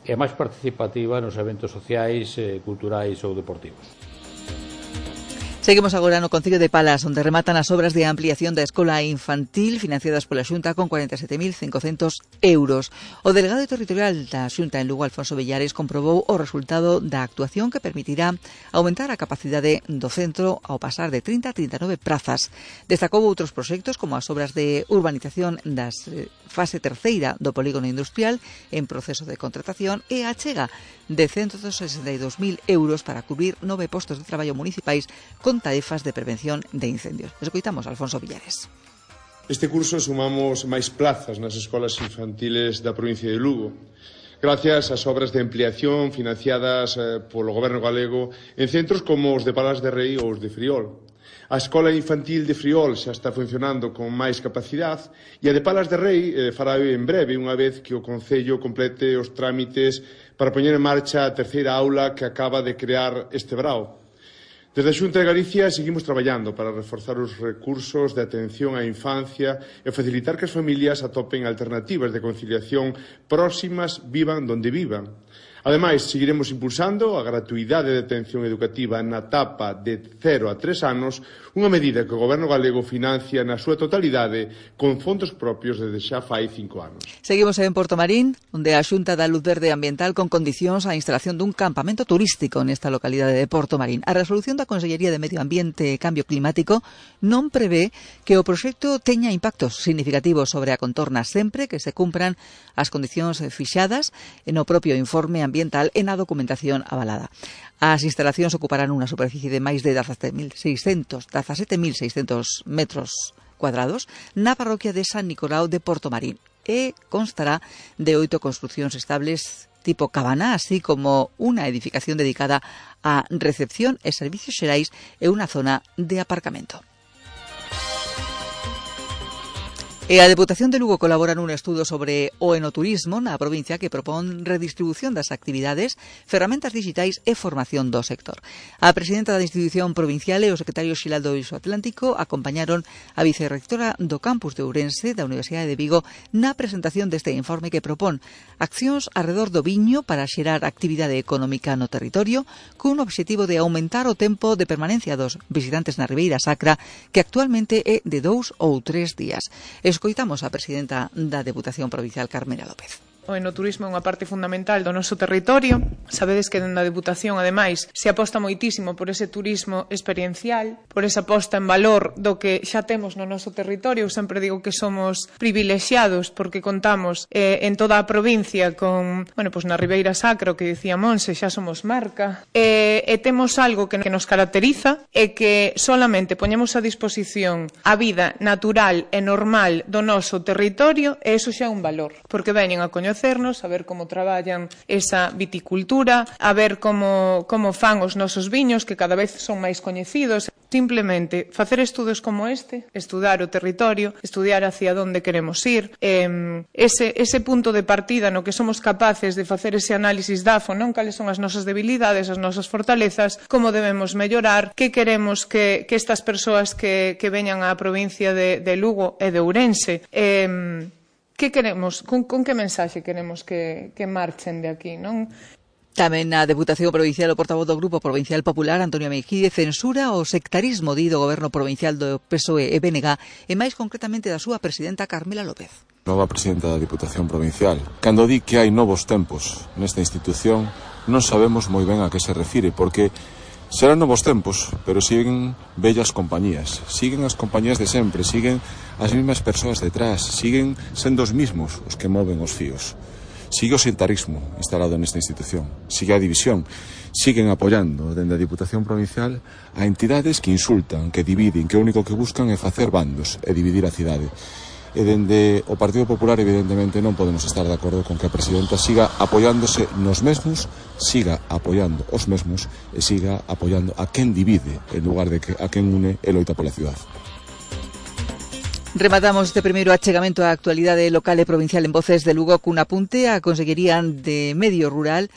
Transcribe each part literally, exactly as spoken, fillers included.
e máis participativa nos eventos sociais, eh, culturais ou deportivos. Seguimos agora no Concello de Palas, onde rematan as obras de ampliación da escola infantil financiadas pola Xunta con cuarenta e sete mil cincocentos euros. O delegado territorial da Xunta en Lugo, Alfonso Villares, comprobou o resultado da actuación que permitirá aumentar a capacidade do centro ao pasar de trinta a trinta e nove prazas. Destacou outros proxectos como as obras de urbanización das fase terceira do polígono industrial en proceso de contratación e a achega de ciento sesenta e dous mil euros para cubrir nove postos de traballo municipais con tarefas de prevención de incendios. Escoitamos a Alfonso Villares. Este curso sumamos máis plazas nas escolas infantiles da provincia de Lugo, gracias ás obras de ampliación financiadas eh, polo Goberno galego en centros como os de Palas de Rei ou os de Friol. A escola infantil de Friol xa está funcionando con máis capacidade e a de Palas de Rei eh, fará en breve, unha vez que o Concello complete os trámites para poñer en marcha a terceira aula que acaba de crear este brao. Desde a Xunta de Galicia seguimos traballando para reforzar os recursos de atención á infancia e facilitar que as familias atopen alternativas de conciliación próximas, vivan donde vivan. Ademais, seguiremos impulsando a gratuidade de atención educativa na etapa de cero a tres anos, unha medida que o Goberno galego financia na súa totalidade con fondos propios desde xa fai cinco anos. Seguimos en Portomarín, onde a Xunta dá luz verde ambiental con condicións á instalación dun campamento turístico nesta localidade de Portomarín. A resolución da Consellería de Medio Ambiente e Cambio Climático non prevé que o proxecto teña impactos significativos sobre a contorna sempre que se cumpran as condicións fixadas no propio informe ambiental e na documentación avalada. As instalacións ocuparán unha superficie de máis de dezasete mil seiscentos metros cuadrados na parroquia de San Nicolau de Portomarín e constará de oito construcións estables tipo cabana, así como unha edificación dedicada a recepción e servicios xerais e unha zona de aparcamento. E a Deputación de Lugo colabora nun estudo sobre o enoturismo na provincia que propón redistribución das actividades, ferramentas digitais e formación do sector. A presidenta da institución provincial e o secretario xeral do Isoatlántico acompañaron a vicerrectora do campus de Ourense da Universidade de Vigo na presentación deste informe que propón accións arredor do viño para xerar actividade económica no territorio cun obxectivo de aumentar o tempo de permanencia dos visitantes na Ribeira Sacra, que actualmente é de dous ou tres días. Escoitamos a presidenta da Deputación Provincial, Carmela López. O enoturismo é unha parte fundamental do noso territorio. Sabedes que dentro da Deputación, ademais, se aposta moitísimo por ese turismo experiencial, por esa posta en valor do que xa temos no noso territorio. Eu sempre digo que somos privilexiados porque contamos eh, en toda a provincia con, bueno, pues na Ribeira Sacra, o que dicía Monse, xa somos marca, e, e temos algo que, que nos caracteriza e que solamente poñemos a disposición a vida natural e normal do noso territorio, e iso xa é un valor, porque veñen a coñecer a ver como traballan esa viticultura, a ver como, como fan os nosos viños, que cada vez son máis coñecidos. Simplemente facer estudos como este, estudar o territorio, estudiar hacia onde queremos ir, eh, ese, ese punto de partida no que somos capaces de facer ese análisis D A F O, non cales son as nosas debilidades, as nosas fortalezas, como debemos mellorar, que queremos que, que estas persoas que, que veñan á provincia de, de Lugo e de Ourense, eh, que queremos, con, con que mensaxe queremos que, que marchen de aquí, non? Tamén na Deputación Provincial o portavoz do Grupo Provincial Popular, Antonio Mejide, censura o sectarismo do Goberno Provincial do P S O E e B N G e máis concretamente da súa presidenta Carmela López. Nova presidenta da Deputación Provincial. Cando di que hai novos tempos nesta institución, non sabemos moi ben a que se refire, porque serán novos tempos, pero siguen bellas compañías, siguen as compañías de sempre, siguen as mesmas persoas detrás, siguen sendo os mismos os que moven os fíos. Sigue o sectarismo instalado nesta institución, sigue a división, siguen apoiando dende a Diputación Provincial a entidades que insultan, que dividen, que o único que buscan é facer bandos e dividir a cidade. E dende o Partido Popular, evidentemente, non podemos estar de acordo con que a presidenta siga apoiándose nos mesmos, siga apoiando os mesmos e siga apoiando a quen divide en lugar de que a quen une e loita pola cidade. Rematamos este primeiro achegamento á actualidade local e provincial en Voces de Lugo cun apunte á Consellería de Medio Rural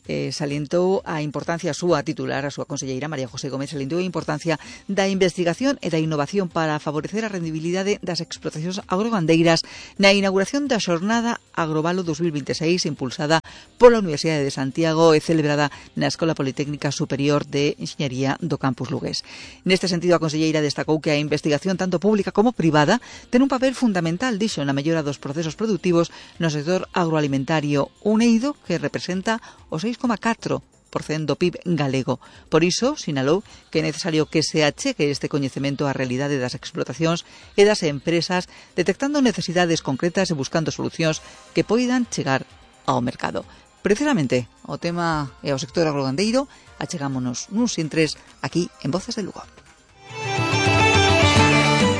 eh, salientou a importancia a súa titular, a súa conselleira María José Gómez, salientou a importancia da investigación e da innovación para favorecer a rendibilidade das explotacións agrogandeiras na inauguración da Xornada Agrovalo dos mil veintiséis impulsada pola Universidade de Santiago e celebrada na Escola Politécnica Superior de Enxeñería do Campus Lugués. Neste sentido, a conselleira destacou que a investigación tanto pública como privada ten un papel fundamental, dixo, na mellora dos procesos productivos no sector agroalimentario, un eido que representa o seis coma catro por cento do P I B galego. Por iso, sinalou que é necesario que se achegue este coñecemento á realidade das explotacións e das empresas, detectando necesidades concretas e buscando solucións que poidan chegar ao mercado. Precisamente, ao tema e ao sector agrogandeiro, achegámonos nuns intres aquí en Voces de Lugo.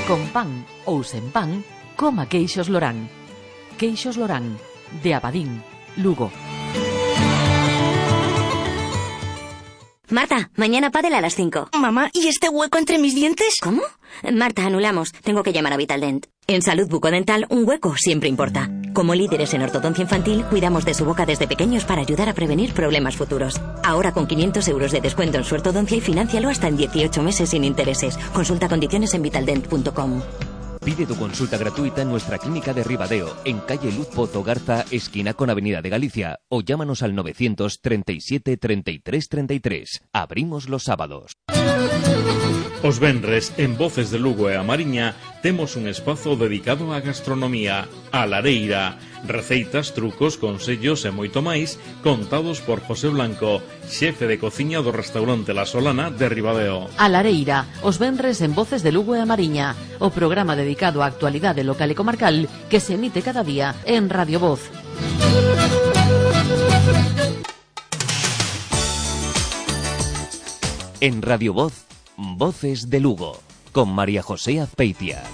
Con pan ou sen pan, coma queixos Lorán. Queixos Lorán, de Abadín, Lugo. Marta, mañana pádel a las cinco. Mamá, ¿y este hueco entre mis dientes? ¿Cómo? Marta, anulamos. Tengo que llamar a Vitaldent. En Salud Bucodental, un hueco siempre importa. Como líderes en ortodoncia infantil, cuidamos de su boca desde pequeños para ayudar a prevenir problemas futuros. Ahora con quinientos euros de descuento en su ortodoncia y financialo hasta en dieciocho meses sin intereses. Consulta condiciones en vitaldent punto com. Pide tu consulta gratuita en nuestra clínica de Ribadeo, en calle Luz Pozo Garza, esquina con Avenida de Galicia, o llámanos al novecientos treinta y siete treinta y tres treinta y tres. Abrimos los sábados. Os venres, en Voces de Lugo e a Mariña, temos un espazo dedicado á gastronomía, a lareira, receitas, trucos, consellos e moito máis, contados por José Blanco, xefe de cociña do restaurante La Solana de Ribadeo. A lareira, os venres en Voces de Lugo e a Mariña, o programa dedicado á actualidade local e comarcal que se emite cada día en Radio Voz. En Radio Voz, Voces de Lugo, con María José Azpeitia.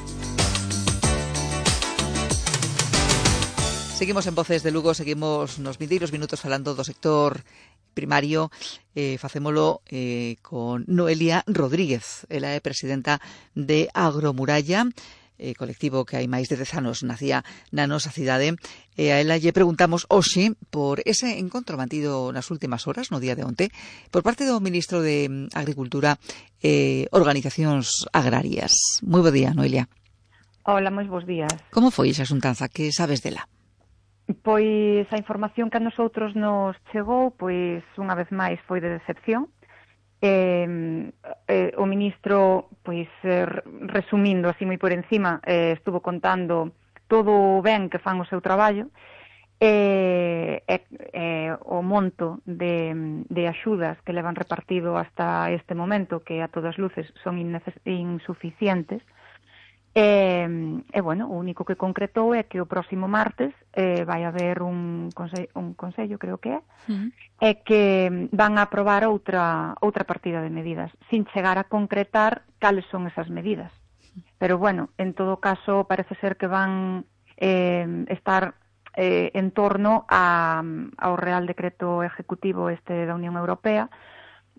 Seguimos en Voces de Lugo, seguimos nos vindeiros minutos falando do sector primario, eh, facémolo eh, con Noelia Rodríguez. Ela é presidenta de Agromuralla, eh, colectivo que hai máis de dez anos nacía na nosa cidade, e a ela lle preguntamos hoxe por ese encontro mantido nas últimas horas, no día de onte, por parte do ministro de Agricultura e eh, Organizacións Agrarias. Moi bo día, Noelia. Hola, moi bons días. Como foi esa xuntanza? Que sabes dela? Pois a información que a nosotros nos chegou, pois unha vez máis foi de decepción. Eh, eh, o ministro, pois eh, resumindo así moi por encima, eh, estuvo contando todo o ben que fan o seu traballo, e eh, eh, o monto de, de axudas que levan repartido hasta este momento, que a todas luces son insuficientes. E, e, bueno, o único que concretou é que o próximo martes eh, vai haber un consello, un consello, creo que é, uh-huh. e que van a aprobar outra outra partida de medidas, sin chegar a concretar cales son esas medidas. Pero, bueno, en todo caso, parece ser que van eh, estar eh, en torno a, ao Real Decreto Ejecutivo este da Unión Europea,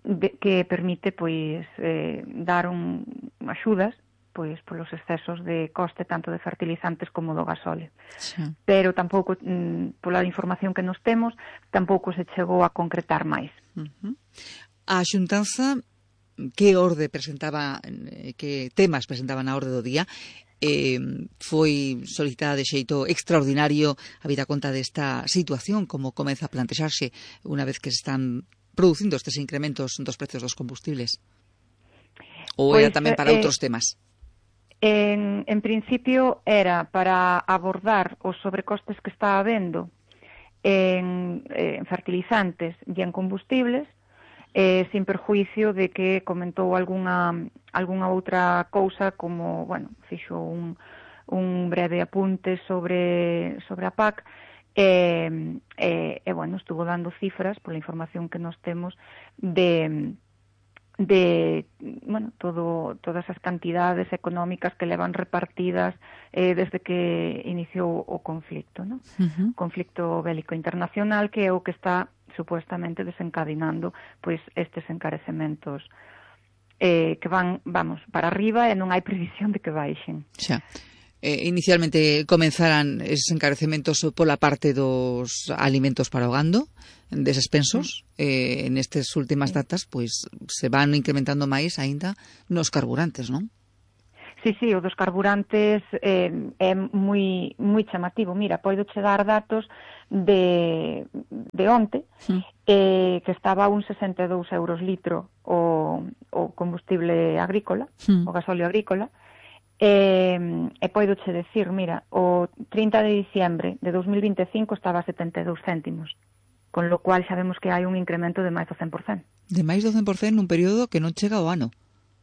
de, que permite, pois, eh, dar un, axudas pois polos excesos de coste tanto de fertilizantes como do gasóleo. Sí. Pero tampouco, mm, pola información que nos temos, tampouco se chegou a concretar máis. Uh-huh. A xuntanza, que orde presentaba, que temas presentaba na orde do día, eh, foi solicitada de xeito extraordinario a vida conta desta situación, como comeza a plantexarse unha vez que se están producindo estes incrementos dos precios dos combustibles? Ou era pues, tamén para eh, outros temas? En, en principio era para abordar os sobrecostes que está habendo en, en fertilizantes e en combustibles, eh, sin perjuicio de que comentou alguna, alguna outra cousa, como, bueno, fixo un, un breve apunte sobre, sobre a P A C, e, e, e, bueno, estuvo dando cifras, pola información que nos temos, de... de, bueno, todo, todas as cantidades económicas que levan repartidas eh, desde que iniciou o conflicto, ¿no? Uh-huh. Conflicto bélico internacional, que é o que está supuestamente desencadenando pois estes encarecementos eh, que van, vamos, para arriba e non hai previsión de que baixen. Xa. eh, inicialmente comenzaran eses encarecementos pola parte dos alimentos para o gando, deses pensos, eh, nestes últimas datas, pois se van incrementando máis aínda nos carburantes, non? Sí, sí, o dos carburantes eh, é moi moi chamativo. Mira, podo che dar datos de, de onte, sí. eh, que estaba a uns sesenta e dous euros litro o, o combustible agrícola, sí. o gasóleo agrícola, e, e podo che decir, mira, o trinta de diciembre de dos mil vinte e cinco estaba a setenta e dous céntimos, con lo cual xa vemos que hai un incremento de máis do cen por cento. De máis do cen por cento nun período que non chega ao ano.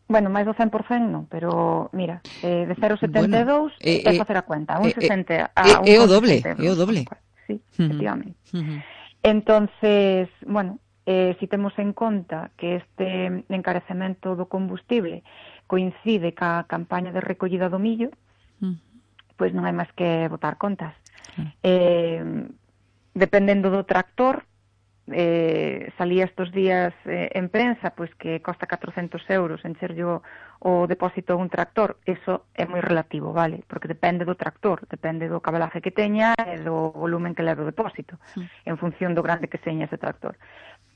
Bueno, máis do cen por cento non, pero mira, eh, de cero coma setenta e dous bueno, eh, é facer a cuenta, un sesenta a un é o doble, é o doble. Sí, efectivamente. Uh -huh. Entonces, bueno, eh, si temos en conta que este encarecemento do combustible coincide ca campaña de recollida do millo, uh -huh. pois non hai máis que botar contas. Uh -huh. Eh, dependendo do tractor, Eh, salía estos días eh, en prensa pois que costa catrocentos euros encherlle o, o depósito a un tractor. Eso é moi relativo, vale? Porque depende do tractor, depende do cabalaje que teña e do volumen que leve o depósito, sí. en función do grande que seña ese tractor.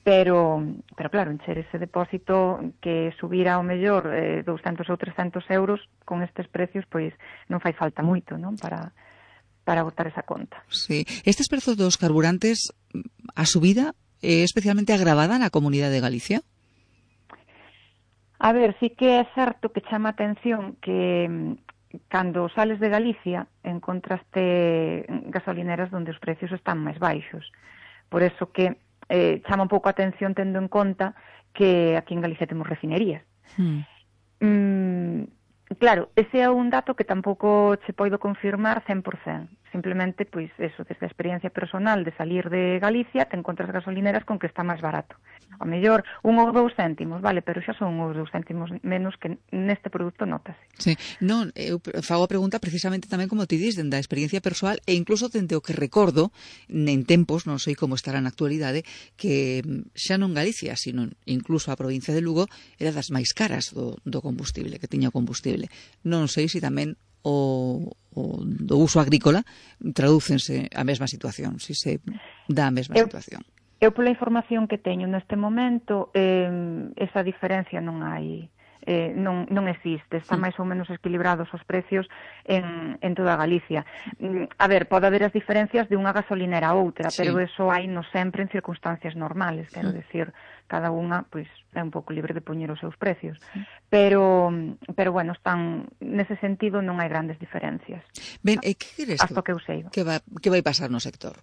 Pero, pero claro, encher ese depósito que subira ao mellor eh, douscentos ou trescentos euros con estes precios, pois non fai falta moito, non? Para para botar esa conta. Sí. Estes prezos dos carburantes, a subida é especialmente agravada na Comunidade de Galicia? A ver, sí que é certo que chama atención que cando sales de Galicia encontraste gasolineras onde os precios están máis baixos. Por eso que eh, chama un pouco a atención tendo en conta que aquí en Galicia temos refinerías. Hmm. Mm, Claro, ese é un dato que tampouco che poido confirmar cen por cento. Simplemente, pois, eso, desde a experiencia personal de salir de Galicia, te encontras gasolineras con que está máis barato. A mellor, un ou dous céntimos, vale, pero xa son uns dous céntimos menos que neste produto notase. Sí, non, eu fago a pregunta precisamente tamén como ti dis, dende a experiencia persoal e incluso dende o que recordo en tempos, non sei como estará na actualidade, que xa non Galicia, sino incluso a provincia de Lugo era das máis caras do, do combustible, que tiña o combustible. Non sei se tamén o, o do uso agrícola tradúcense a mesma situación, se se dá a mesma eu, situación. Eu, pola información que teño neste momento, eh, esa diferencia non hai, eh, non, non existe, están máis ou menos equilibrados os precios en, en toda Galicia. A ver, pode haber as diferencias de unha gasolinera a outra, sí. pero eso hai no sempre en circunstancias normales, quero sí. decir, cada unha pois é un pouco libre de poñer os seus precios. Sí. Pero pero bueno, están nese sentido non hai grandes diferencias. Ben, e que queres hasta que eu sei. Que vai que vai pasar no sector?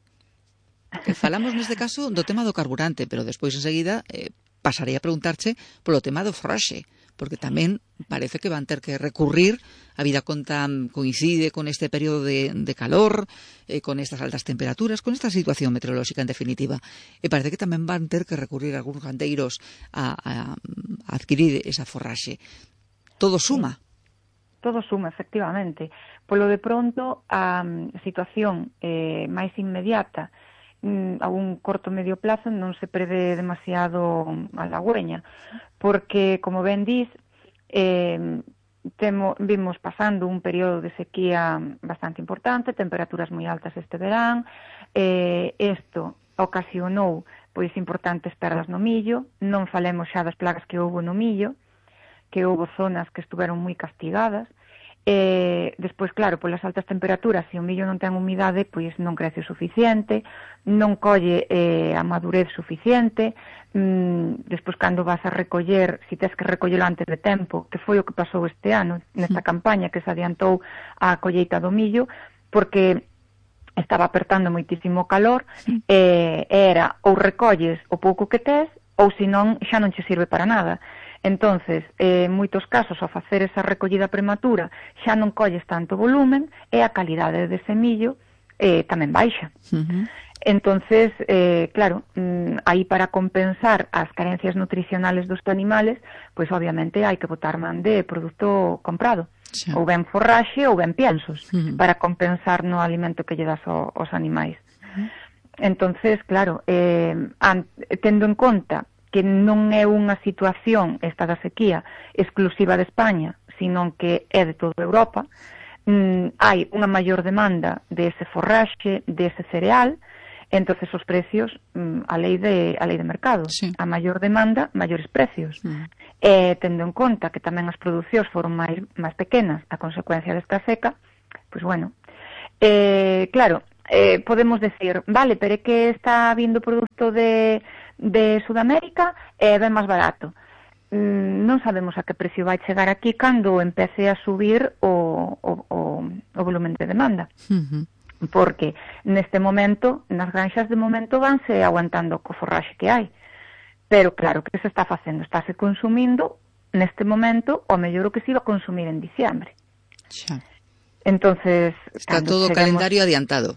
Que falamos neste caso do tema do carburante, pero despois enseguida eh, pasarei a preguntarche polo tema do froxe, porque tamén parece que van ter que recurrir, a vida conta coincide con este período de, de calor, eh, con estas altas temperaturas, con esta situación meteorolóxica en definitiva, e parece que tamén van ter que recurrir algúns gandeiros a, a, a adquirir esa forraxe. Todo suma. Todo suma, efectivamente. Polo de pronto, a situación eh, máis inmediata a un corto medio plazo non se prevé demasiado halagüeña, porque, como ben dis, eh, temo, vimos pasando un período de sequía bastante importante, temperaturas moi altas este verán, eh, isto ocasionou pois importantes perdas no millo, non falemos xa das plagas que houve no millo, que houve zonas que estuveron moi castigadas. Eh, despois, claro, polas altas temperaturas, se o millo non ten humidade, pois non crece o suficiente, non colle eh, a madurez suficiente, mm, despois cando vas a recoller, se tes que recollelo antes de tempo, que foi o que pasou este ano, nesta campaña que se adiantou a colleita do millo, porque estaba apertando moitísimo calor, eh, era ou recolles o pouco que tes, ou senón xa non che sirve para nada. Entonces, eh, en moitos casos, ao facer esa recollida prematura, xa non colles tanto volumen e a calidade de semillo eh, tamén baixa. Uh-huh. Entonces, eh, claro, mm, aí para compensar as carencias nutricionales dos animales, pois obviamente hai que botar man de produto comprado, sí. ou ben forraxe ou ben piensos, uh-huh. para compensar no alimento que lle das ao, aos animais. Uh-huh. Entonces, claro, eh, an, tendo en conta que non é unha situación, esta da sequía, exclusiva de España, sino que é de toda Europa, mm, hai unha maior demanda de ese forraxe, de ese cereal, entonces os precios, mm, a lei de a lei de mercado, sí. A maior demanda, maiores precios. Mm. E tendo en conta que tamén as producións foron máis máis pequenas a consecuencia desta seca, pois bueno, eh, claro, eh, podemos decir, vale, pero é que está vindo produto de, de Sudamérica e é ben máis barato. Mm, non sabemos a que precio vai chegar aquí cando empece a subir o, o, o, o volumen de demanda. Uh-huh. Porque neste momento, nas granxas de momento vanse aguantando co forraxe que hai. Pero claro, que se está facendo? Estáse consumindo neste momento o mellor o que se iba a consumir en diciembre. Xa. Entonces, está todo o cheguemos... calendario adiantado.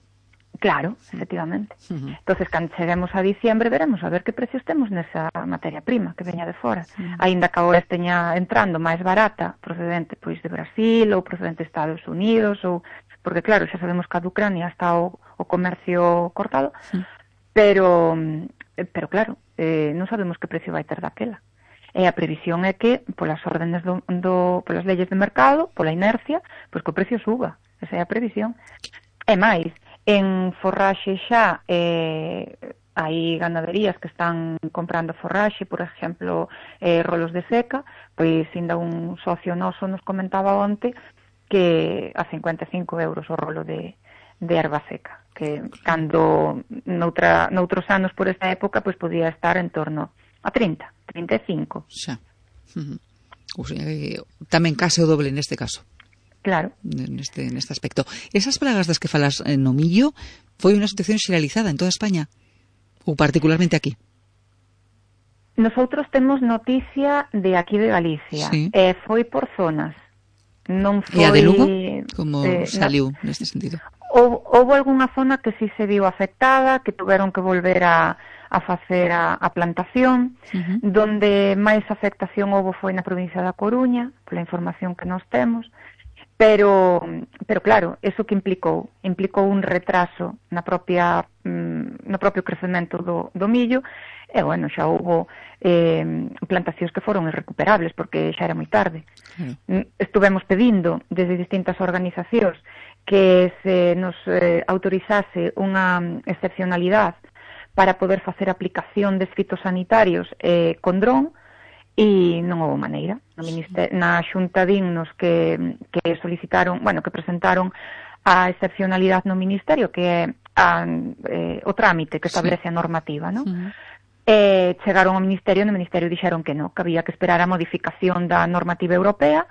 Claro, efectivamente. Uh-huh. Entonces, cando cheguemos a diciembre, veremos a ver que precios temos nesa materia prima que veña de fora. Uh-huh. Aínda que agora esteña entrando máis barata, procedente pois de Brasil ou procedente de Estados Unidos, ou porque claro, xa sabemos que a de Ucrania está o, o comercio cortado, uh-huh. pero pero claro, eh, non sabemos que precio vai ter daquela. E a previsión é que, polas órdenes do, do polas leyes de mercado, pola inercia, pois que o precio suba. Esa é a previsión. E máis, en forraxe xa eh, hai ganaderías que están comprando forraxe, por exemplo, eh, rolos de seca, pois ainda un socio noso nos comentaba onte que a cincuenta e cinco euros o rolo de, de erva seca, que cando noutra, noutros anos por esa época pois podía estar en torno a trinta, trinta e cinco. Xa. Uh-huh. O sea, eh, tamén case o doble neste caso. Claro. Neste, neste aspecto. Esas plagas das que falas no millo foi unha situación xeralizada en toda España? Ou particularmente aquí? Nosoutros temos noticia de aquí de Galicia. Sí. E foi por zonas. Non foi... E a de Lugo? Como eh, saliu no. neste sentido? Houve, houve algunha zona que sí se viu afectada, que tuveron que volver a, a facer a, a plantación, uh-huh. Donde máis afectación houve foi na provincia da Coruña, pola información que nós temos. Pero, pero claro, eso que implicou? Implicou un retraso na propia, mm, no propio crecemento do, do millo, e, bueno, xa houve eh, plantacións que foron irrecuperables, porque xa era moi tarde. Mm. Estuvemos pedindo, desde distintas organizacións, que se nos eh, autorizase unha excepcionalidade para poder facer aplicación de fitosanitarios eh, con dron, e non houve maneira. No minister... Na Xunta Dignos que, que solicitaron, bueno, que presentaron a excepcionalidade no Ministerio, que é a, eh, o trámite que establece a normativa, non? Uh-huh. Eh, chegaron ao Ministerio, no Ministerio dixeron que non, que había que esperar a modificación da normativa europea,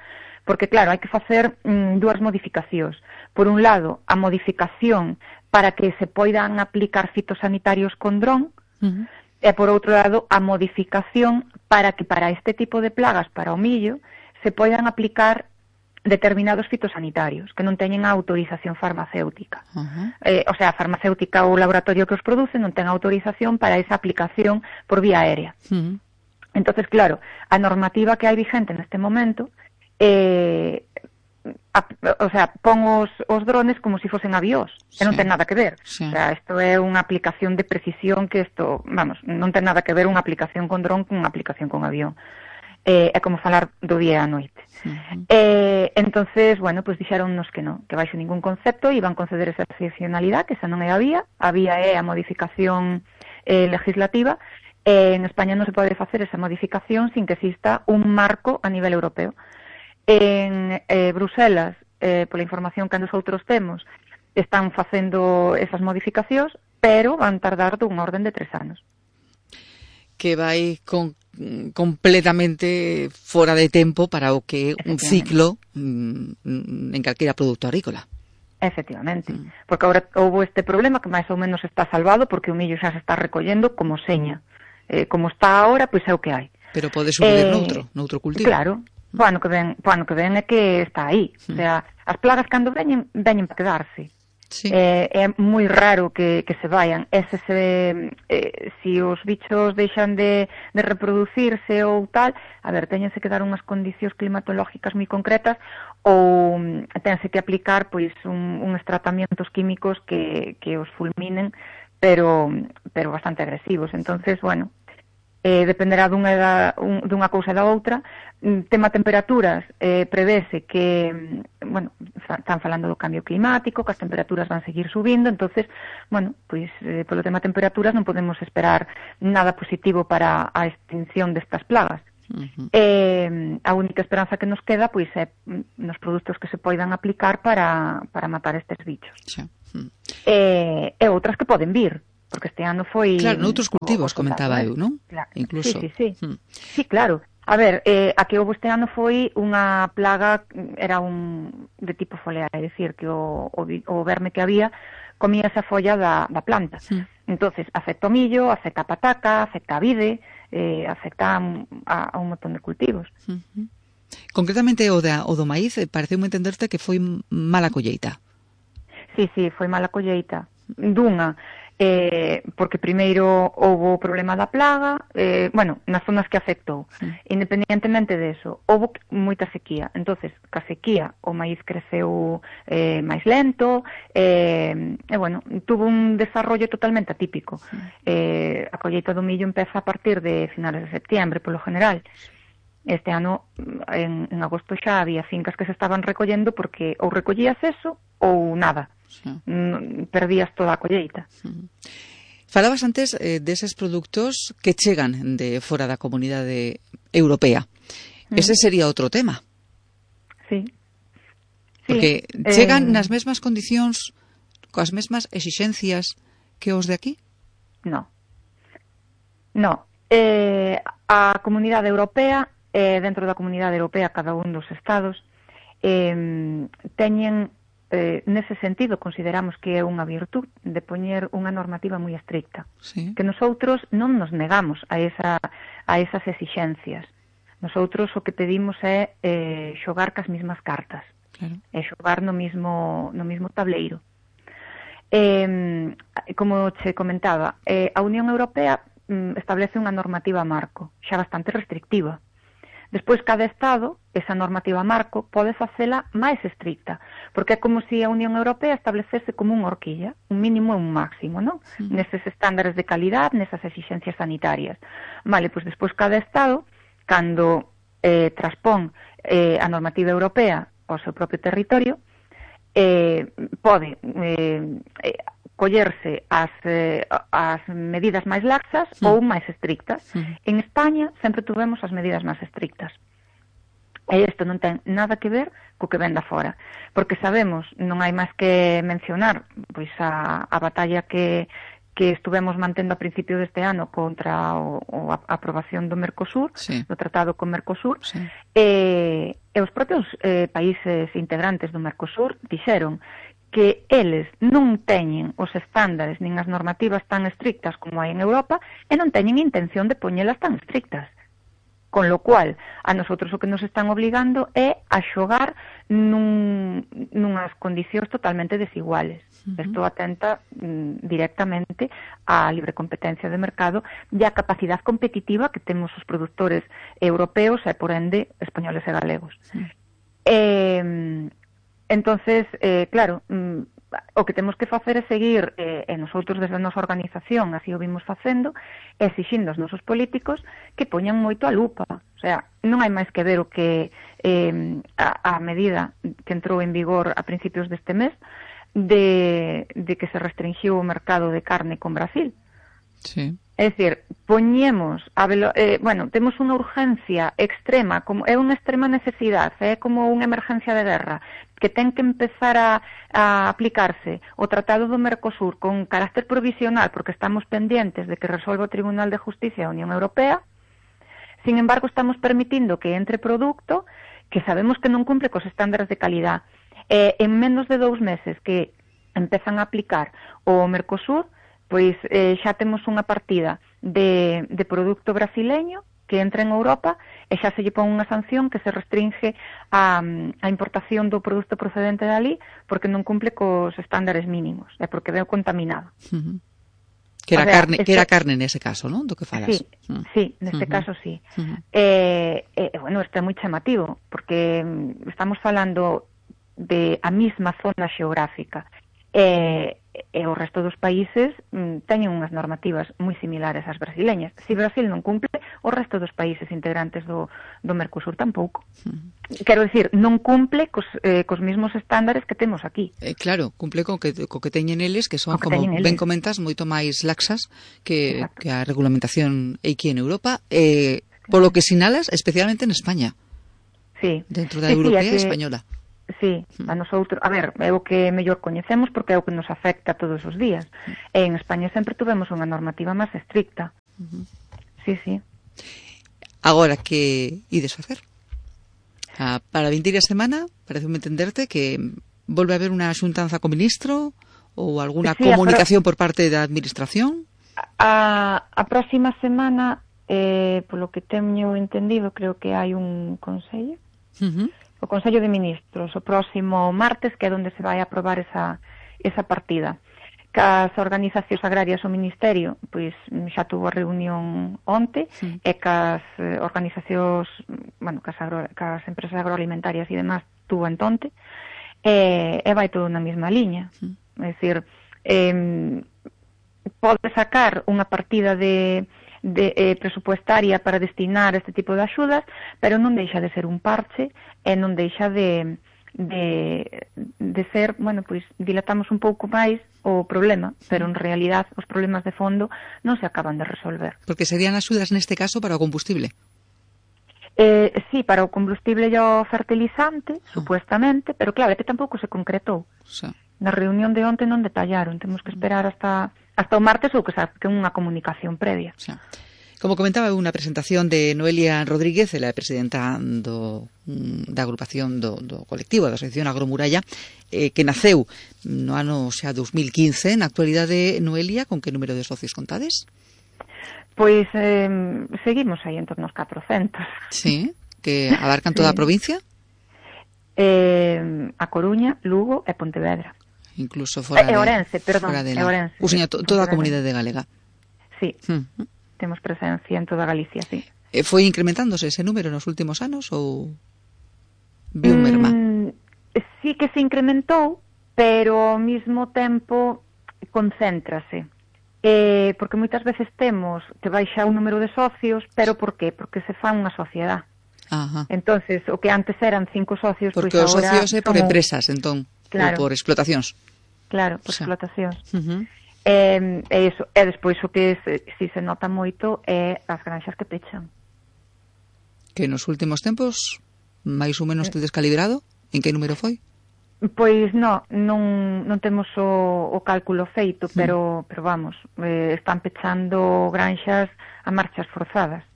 porque claro, hai que facer mm, dúas modificacións. Por un lado, a modificación para que se poidan aplicar fitosanitarios con dron, uh-huh. E por outro lado, a modificación para que para este tipo de plagas, para o millo, se poidan aplicar determinados fitosanitarios que non teñen a autorización farmacéutica. Uh-huh. Eh, o sea, a farmacéutica ou o laboratorio que os produce non ten autorización para esa aplicación por vía aérea. Uh-huh. Entonces, claro, a normativa que hai vigente neste momento eh, a, o sea, pon os, os drones como se si fosen avións, sí. E non ten nada que ver. Sí. O sea, isto é unha aplicación de precisión que isto, vamos, non ten nada que ver unha aplicación con dron con unha aplicación con avión. Eh, é como falar do día á noite. Uh-huh. Eh, entonces, bueno, pues dixeronnos que non, que baixo ningún concepto iban conceder esa excepcionalidade, que esa non é a vía, a vía é a modificación eh, legislativa, e en España non se pode facer esa modificación sin que exista un marco a nivel europeo. En eh, Bruselas, eh, pola información que nosotros temos, están facendo esas modificacións, pero van tardar dunha orden de tres anos. Que vai con, completamente fora de tempo para o que é un ciclo mm, en calquera produto agrícola. Efectivamente, mm. porque agora houve este problema que máis ou menos está salvado porque o millo xa se está recollendo como seña. Eh, como está ahora, pois é o que hai. Pero pode subir eh, noutro, noutro cultivo. Claro. O ano que ven, o ano que ven é que está aí. O sea, as plagas cando veñen, veñen para quedarse. Sí. Eh, é moi raro que, que se vayan. Ese se, eh, si os bichos deixan de, de reproducirse ou tal, a ver, teñense que dar unhas condicións climatológicas moi concretas ou tense que aplicar pois un, uns tratamientos químicos que, que os fulminen, pero, pero bastante agresivos. Entonces, bueno, eh, dependerá dunha, da, un, dunha cousa da outra. Tema temperaturas, eh, prevese que, bueno, están falando do cambio climático, que as temperaturas van seguir subindo, entonces, bueno, pois, eh, polo tema temperaturas non podemos esperar nada positivo para a extinción destas plagas. Uh-huh. Eh, a única esperanza que nos queda, pois, é nos produtos que se poidan aplicar para, para matar estes bichos. Sí. Uh-huh. Eh, e outras que poden vir, porque este ano foi... Claro, noutros cultivos, comentaba eu, non? Claro. Incluso. Sí, sí, sí. Uh-huh. Sí, claro. A ver, eh, a que houve este ano foi unha plaga, era un de tipo foliar, é dicir, que o, o, o verme que había comía esa folla da, da planta. Sí. Entonces, afecta o millo, afecta a pataca, afecta a vide, eh, afecta a, a, a un montón de cultivos. Uh-huh. Concretamente o, da, o do maíz, pareceu-me entenderte que foi mala colleita. Sí, sí, foi mala colleita. Dunha, eh, porque primeiro houve o problema da plaga, eh, bueno, nas zonas que afectou. Sí. Independientemente de eso, houve moita sequía. Entonces, ca sequía, o maíz creceu eh, máis lento, eh, e, bueno, tuvo un desarrollo totalmente atípico. Sí. Eh, a colleita do millo empeza a partir de finales de septiembre, polo general. Este ano, en, en agosto xa había fincas que se estaban recollendo porque ou recollías eso ou nada. Sí. Perdías toda a colleita. Sí. Falabas antes eh, deses produtos que chegan de fora da comunidade europea. Mm. Ese sería outro tema. Sí. Porque sí. chegan eh... nas mesmas condicións, coas mesmas exixencias que os de aquí? No. No. Eh, a comunidade europea, eh, dentro da comunidade europea, cada un dos estados, eh, teñen... Eh, nese sentido consideramos que é unha virtud de poñer unha normativa moi estricta, sí. Que nosotros non nos negamos a, esa, a esas exixencias. Nosotros o que pedimos é eh, xogar cas mismas cartas, claro. E xogar no mismo, no mismo tableiro. Eh, como che comentaba, eh, a Unión Europea mm, establece unha normativa marco, xa bastante restrictiva. Despois, cada Estado, esa normativa marco, pode facela máis estricta, porque é como se a Unión Europea establecese como unha horquilla, un mínimo e un máximo, non? Uh-huh. Neses estándares de calidad, nesas exixencias sanitarias. Vale, pois despois cada Estado, cando eh, traspón eh, a normativa europea ao seu propio territorio, eh, pode eh, eh, collerse as, eh, as medidas máis laxas sí. Ou máis estrictas. Sí. En España sempre tuvemos as medidas máis estrictas. E isto non ten nada que ver co que ven da fora. Porque sabemos, non hai máis que mencionar, pois a, a batalla que, que estuvemos mantendo a principio deste ano contra o, o a aprobación do Mercosur, sí. Do tratado con Mercosur, sí. e, e os propios eh, países integrantes do Mercosur dixeron que eles non teñen os estándares nin as normativas tan estrictas como hai en Europa e non teñen intención de poñelas tan estrictas. Con lo cual, a nosotros o que nos están obligando é a xogar nun, nunhas condicións totalmente desiguales. Uh-huh. Isto atenta mm, directamente á libre competencia de mercado e á capacidade competitiva que temos os produtores europeos e, por ende, españoles e galegos. Uh-huh. Eh, Entonces, eh, claro, mm, o que temos que facer é seguir, eh, e nosotros desde a nosa organización así o vimos facendo, exixindo aos nosos políticos que poñan moito a lupa. O sea, non hai máis que ver o que eh, a, a medida que entrou en vigor a principios deste mes de, de que se restringiu o mercado de carne con Brasil. Sí. É dicir, poñemos, a velo, eh, bueno, temos unha urgencia extrema, como é unha extrema necesidade, é como unha emergencia de guerra, que ten que empezar a, a aplicarse o Tratado do Mercosur con carácter provisional, porque estamos pendientes de que resolva o Tribunal de Justicia da Unión Europea. Sin embargo, estamos permitindo que entre produto que sabemos que non cumple cos estándares de calidad. Eh, en menos de dous meses que empezan a aplicar o Mercosur, pois eh, xa temos unha partida de, de produto brasileño que entra en Europa e xa se lle pon unha sanción que se restringe a, a importación do produto procedente dali porque non cumple cos estándares mínimos, é porque veo contaminado. Uh-huh. Que era, o sea, carne, este... que era carne nese caso, non? Do que falas. Sí, uh-huh. sí, neste uh-huh. caso sí. Uh-huh. Eh, eh, bueno, isto é moi chamativo porque estamos falando de a mesma zona xeográfica. Eh, e o resto dos países mm, teñen unhas normativas moi similares ás brasileñas. Se Brasil non cumple, o resto dos países integrantes do, do Mercosur tampouco. Mm. Quero dicir, non cumple cos, eh, cos mesmos estándares que temos aquí. Eh, claro, cumple co que, co que teñen eles, que son, que como ben comentas, moito máis laxas que, que a regulamentación aquí en Europa, eh, polo que sinalas, especialmente en España. Sí. Dentro da sí, europea sí, e española. Sí, a nosotros, a ver, é o que mellor coñecemos porque é o que nos afecta todos os días. E en España sempre tuvemos unha normativa máis estricta. Uh-huh. Sí, sí. Agora, que ides facer? Ah, para a vindeira semana, pareceme entenderte que volve a haber unha xuntanza co ministro ou alguna sí, comunicación pro... por parte da administración? A, a próxima semana, eh, polo que teño entendido, creo que hai un consello. Uh-huh. O Consello de Ministros, o próximo martes, que é onde se vai aprobar esa, esa partida. Cas organizacións agrarias o Ministerio, pois xa tuvo a reunión onte, sí. E cas eh, organizacións, bueno, cas, agro, cas empresas agroalimentarias e demás tuvo entonte, e, e vai todo na mesma liña. Sí. É dicir, eh, pode sacar unha partida de... de eh, presupuestaria para destinar este tipo de axudas, pero non deixa de ser un parche e non deixa de, de, de ser, bueno, pois dilatamos un pouco máis o problema, pero en realidad os problemas de fondo non se acaban de resolver. Porque serían axudas neste caso para o combustible? Eh, sí, para o combustible e o fertilizante, ah. supuestamente, pero claro, é que tampouco se concretou. Sí. Na reunión de onte non detallaron, temos que esperar hasta... hasta o martes ou que sabe que é unha comunicación previa. Sí. Como comentaba, unha presentación de Noelia Rodríguez, ela é presidenta do, da agrupación do, do colectivo da Asociación Agromuralla, eh, que naceu no ano xa dos mil quince. Na actualidade, Noelia, con que número de socios contades? Pois eh, seguimos aí en torno aos catrocentos. Sí, que abarcan toda sí. a provincia? Eh, a Coruña, Lugo e Pontevedra. Incluso fora de... E Ourense, perdón, de la... Ourense. O sea, to, toda a comunidade galega. Sí, mm. temos presencia en toda Galicia, sí. E foi incrementándose ese número nos últimos anos ou viu mm, merma? Sí que se incrementou, pero ao mesmo tempo concéntrase. Eh, porque moitas veces temos que baixa o número de socios, pero por qué? Porque se fa unha sociedade. Ajá. Entonces, o que antes eran cinco socios, porque pois os agora socios é por como... empresas, entón, claro. ou por explotacións. Claro, por o sea. explotacións. Uh-huh. E, e, eso, e despois o que se, si se nota moito é as granxas que pechan. Que nos últimos tempos, máis ou menos te descalibrado? En que número foi? Pois no, non, non temos o, o cálculo feito, pero, mm. pero vamos, eh, están pechando granxas a marchas forzadas.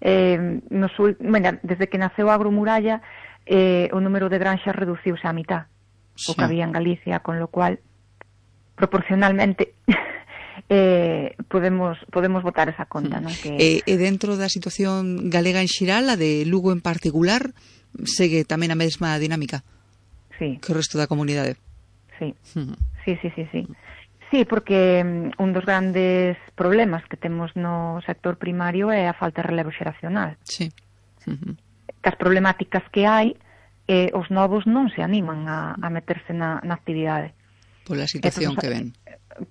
Eh, nos, bueno, desde que naceu a Agromuralla, eh, o número de granxas reduciuse á mitad. Sí. O que había en Galicia, con lo cual proporcionalmente eh, podemos podemos botar esa conta, non? Que... E, e dentro da situación galega en xeral, a de Lugo en particular, segue tamén a mesma dinámica sí. que o resto da comunidade? Sí, uh-huh. sí, sí, sí, sí. Sí, porque um, un dos grandes problemas que temos no sector primario é a falta de relevo xeracional. Sí. Uh-huh. As problemáticas que hai, eh, os novos non se animan a, a meterse na, na actividade. Pola situación Entonces, que ven.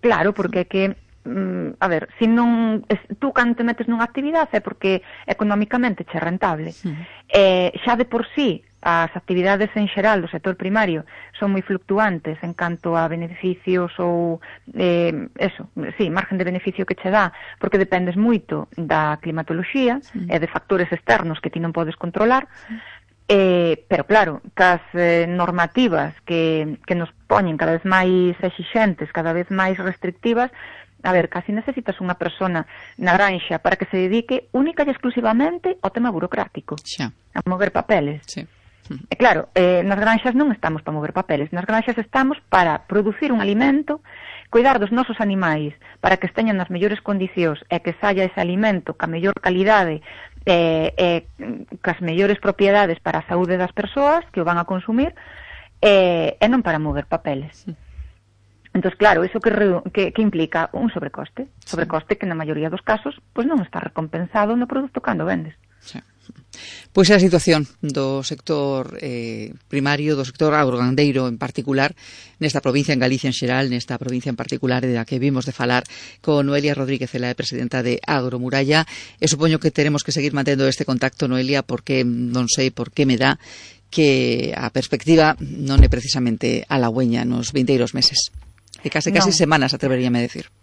Claro, porque é que, mm, a ver, se non, tú cando te metes nunha actividade é porque económicamente che é rentable. Uh-huh. Eh, xa de por sí, as actividades en xeral do sector primario son moi fluctuantes en canto a beneficios ou, eh, eso, sí, margen de beneficio que che dá, porque dependes moito da climatoloxía uh-huh. e de factores externos que ti non podes controlar. Uh-huh. Eh, pero claro, cas eh, normativas que, que nos poñen cada vez máis exixentes, cada vez máis restrictivas, a ver, casi necesitas unha persona na granxa para que se dedique única e exclusivamente ao tema burocrático, xa. A mover papeles. Sí. E claro, eh, nas granxas non estamos para mover papeles, nas granxas estamos para producir un alimento, cuidar dos nosos animais para que esteñan nas mellores condicións e que saia ese alimento ca mellor calidade e, e cas mellores propiedades para a saúde das persoas que o van a consumir e, e non para mover papeles. Entón, claro, iso que, que, que implica un sobrecoste, sobrecoste que na maioría dos casos pois non está recompensado no produto cando vendes. Sí. Pois é a situación do sector eh, primario, do sector agrogandeiro en particular, nesta provincia, en Galicia en xeral, nesta provincia en particular da que vimos de falar con Noelia Rodríguez, ela é presidenta de Agromuralla, e supoño que teremos que seguir mantendo este contacto, Noelia, porque non sei por que me dá que a perspectiva non é precisamente halagüeña nos vindeiros meses. E case case no. semanas, atreveríame a decir.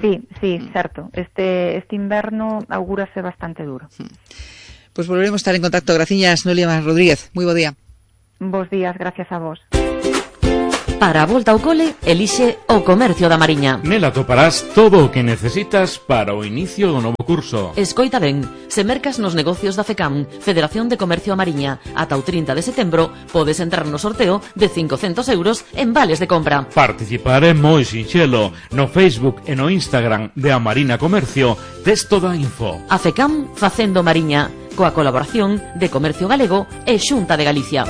Sí, sí, certo. Este, este inverno augúrase bastante duro. Pois pues volveremos a estar en contacto. Graciñas, Noelia Rodríguez. Moi bo día. Bos días, gracias a vos. Para a volta ao cole, elixe o Comercio da Mariña. Nela toparás todo o que necesitas para o inicio do novo curso. Escoita ben, se mercas nos negocios da FECAM, Federación de Comercio a Mariña, ata o trinta de setembro, podes entrar no sorteo de cincocentos euros en vales de compra. Participar é moi sinxelo. No Facebook e no Instagram de A Marina Comercio tes toda a info. A FECAM facendo Mariña, coa colaboración de Comercio Galego e Xunta de Galicia.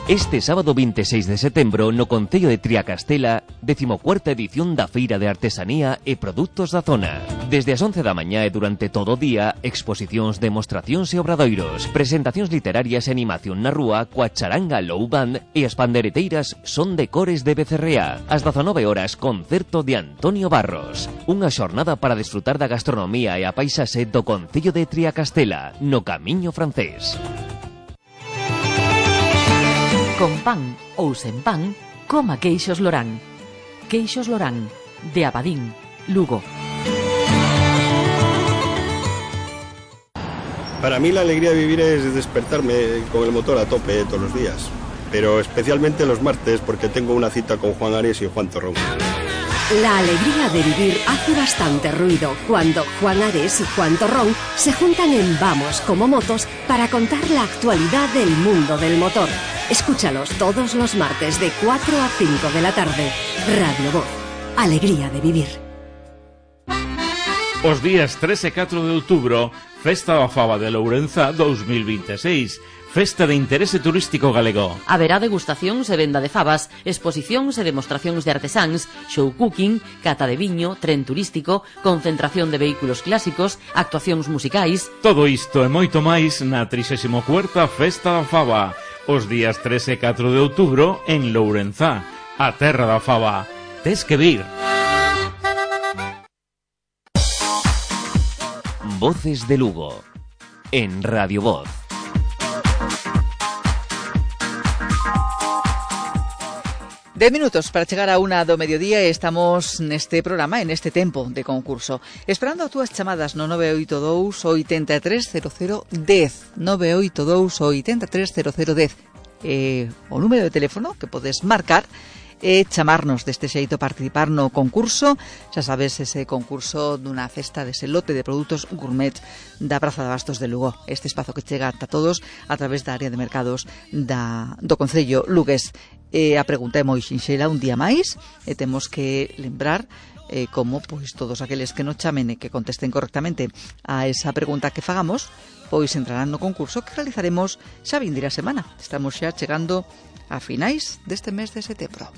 Este sábado veintiséis de setembro no Concello de Triacastela, decimocuarta edición da Feira de Artesanía e Produtos da Zona. Desde as once da mañá e durante todo o día, exposicións, demostracións e obradoiros, presentacións literarias e animación na rúa coa charanga Low Band e as pandereteiras Son de Cores de Becerrea. Ás dezanove horas, concerto de Antonio Barros. Unha xornada para desfrutar da gastronomía e a paisaxe do Concello de Triacastela, no Camiño Francés. Con pan ou sen pan, coma queixos Lorán. Queixos Lorán, de Abadín, Lugo. Para mí la alegría de vivir es despertarme con el motor a tope todos los días, pero especialmente los martes porque tengo una cita con Juan Ares y Juan Torrón. La alegría de vivir hace bastante ruido cuando Juan Ares y Juan Torrón se juntan en Vamos como Motos para contar la actualidad del mundo del motor. Escúchalos todos los martes de cuatro a cinco de la tarde. Radio Voz. Alegría de vivir. Os días tres e catro de outubro, Festa da Faba de Lourenza dos mil veintiséis. Festa de interese turístico galego. Haberá degustacións e venda de fabas, exposicións e demostracións de artesáns, show cooking, cata de viño, tren turístico, concentración de vehículos clásicos, actuacións musicais. Todo isto e moito máis na trixésima cuarta Festa da Faba, os días tres e catro de outubro en Lourenza, a terra da faba. Tes que vir. Voces de Lugo, en Radio Voz. Dez minutos para chegar a unha do mediodía e estamos neste programa, en este tempo de concurso. Esperando as túas chamadas no nove oito dous, oito tres cero cero, un cero. nove oito dous, oito tres cero cero, un cero. Eh, o número de teléfono que podes marcar e chamarnos deste xeito, participar no concurso. Xa sabes, ese concurso dunha cesta dese lote de produtos gourmet da Praza de Bastos de Lugo. Este espazo que chega a todos a través da área de mercados da, do Concello lugués. E a pregunta é moi sinxela, un día máis, e temos que lembrar eh, como pois todos aqueles que nos chamen e que contesten correctamente a esa pregunta que fagamos, pois entrarán no concurso que realizaremos xa vindeira semana. Estamos xa chegando a finais deste mes de setembro.